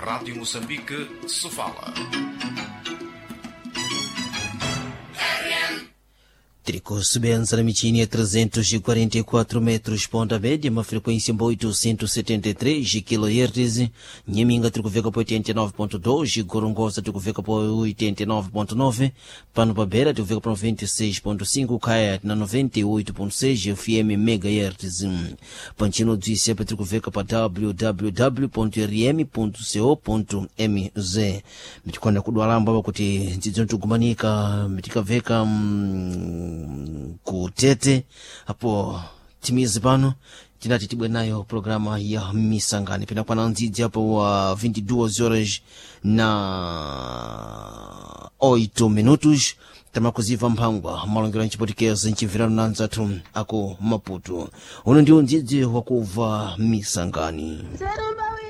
Rádio Moçambique, Sofala. Tricosbenza na michini ya 344 metros ponta média, uma frequência 873 kHz, Nhaminga trikuveka po 89.2, Gorongosa trikuveka po 89.9, Pano Pabera trikuveka po 96.5, Kaya na 98.6 FM MHz. Pantino dzise trikuveka pa www.rm.co.mz. Mitikwana kudwalamba kuti ndzidzo tikumanika mitikaveka kutete apo timizi pano tinati tibwe nayo programa ya misangani pinakwana ndzidzi apo wa 22 horas na 8 minutos tamakuziva mphangwa malongero nchipotikezi nchimvirano na anzathu aku Maputo. Uno ndiwo ndzidzi wakuva misangani. Serumba.